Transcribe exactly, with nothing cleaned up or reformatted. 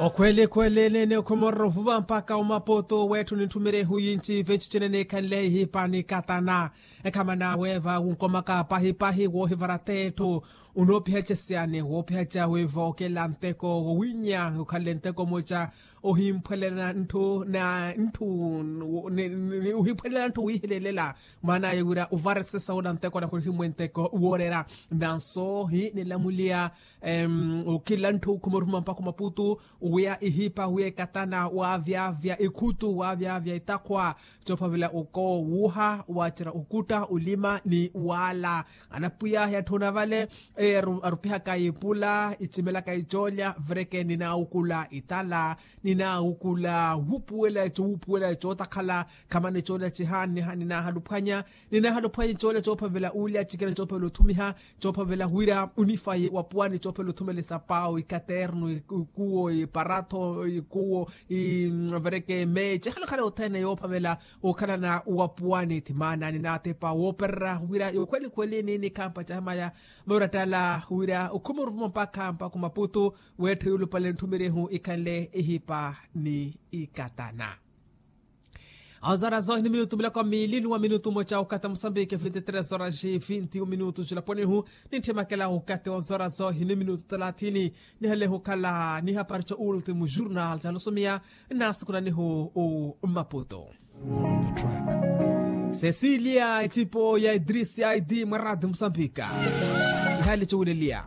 Okhweli khweli nene okhumorera ovuva mpakha omapoto wetthu nintthumire ehuyinci venci cinene khanle ihipa ni katana. Ekhamana weva wunkomaka pahipahi wohivara tetthu. Unoopihaca syani woopihaca weva okela nteko wowinya okhanle nteko moca. Ohimphwelela ntthu na ntthu. Ohimphwelela ntthu wihilelela. Maana aye wira uvaresesa wona nteko na khurihimwe nteko woorera. Nanso hi nilamuliya. Okila ntthu khumoruma mpakha omaputu. Wiya ihipa wiya ekatana waavyavya ikhutu waavyavya itakhwa. Coophavela uko wuuha waacerya okutta olima ni waala. Anapwiya ahi atthu onavale. Arupihaka ipula icimelaka icoolya vireke ninaawukula itala. Ninaawukula wupuwela eco wupuwela eco otakhala. Khamana ecoolya ciha ninahaluphwanya. Ninahaluphwanya ecoolya coophavela uulya cikela coophavela othumiha. Coophavela wira unifayi wapuwani coophavela othumela esapawu ikaternu ikuwo iparatho ikuwo. Ivereke meece ekhalakhala yothene yoophavela okhalana wapuwani thimaana ninaatepa wooperera wira yokhwelikhweli ninikhampa cahamaya. Moorattala wira okhuma oruvuma mpakha mpakha omaputu. Wettha yulupale ntthumirihu ikhanle ihipa ni ikatana. Onzora zohi ni minutu miloko miili nuwa minutu moca okata musambiki vinti tres horas vinti minutu ncilaponihu. Nintthemakela okati onzora zohi ni minutu talathini. Nihalehu okhala ni hapari co ultimu jurnal calosomiya. Nnaasukunanihu u mmaputu. Cecilia ecipo ya idrisi aidi mwa radi musambika. Ihali cowuleliya.